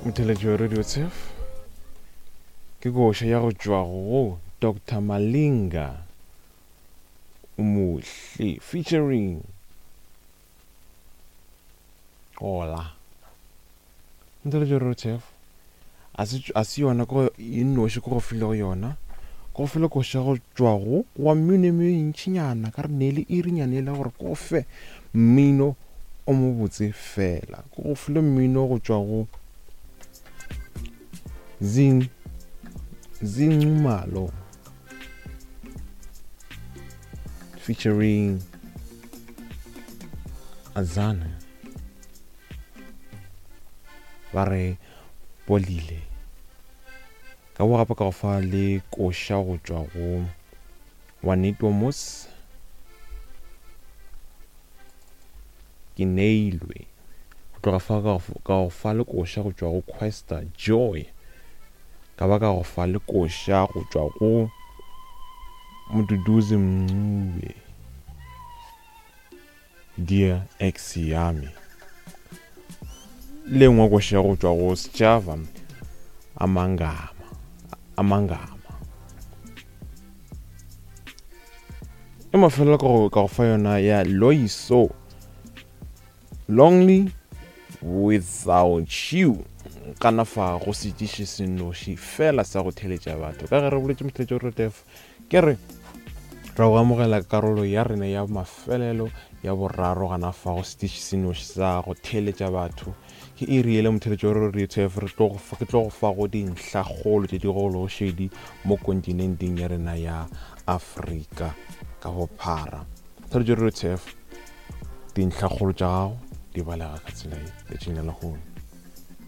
Motheletši wa Radio Tshef ke koša ya go tšwa go Doctor Malinga Umuhle featuring Ola. Motheletši wa Radio Tshef a se yona ko e nnoši ko go filego yona ko go file koša go tšwa go wa mmino e mentšinyana ka re ne le irinyana e le gore ko fe mmino o mobotse fela ko go file mmino go tšwa go Zing Zinxumalo featuring Azana ba re bolile ka bo gape ka go fa le koša go tšwa go Juanito Mos ke neilwe go tloga fa ka go fa le koša go tšwa go Questa Joy ka ba ka go fa le koša go tšwa go Mduduzi Mncube Dear ex ya me le nngwe koša go tšwa go Sjava Amangama Amangama e mafelelo ka go ka go fa yona ya Loiso Lonely Without You kana fa go setiši senoši fela sa go theletša batho ka ge re boletše motheletši o retef Ke re, ra go amogela karolo ya rena ya mafelelo ya boraro gana fa go setiši se noši sa go theeletša batho. Ke iri yela motheeletši wa Radio TF re tlo go ke tlo go fa go dintlhakgolo tše di gološedi mo kontinenteng ya rena ya Afrika ka bophara. Motheeletši wa Radio TF, dintlhakgolo tša gago di balega ka tsela ye letšatšing la lehono.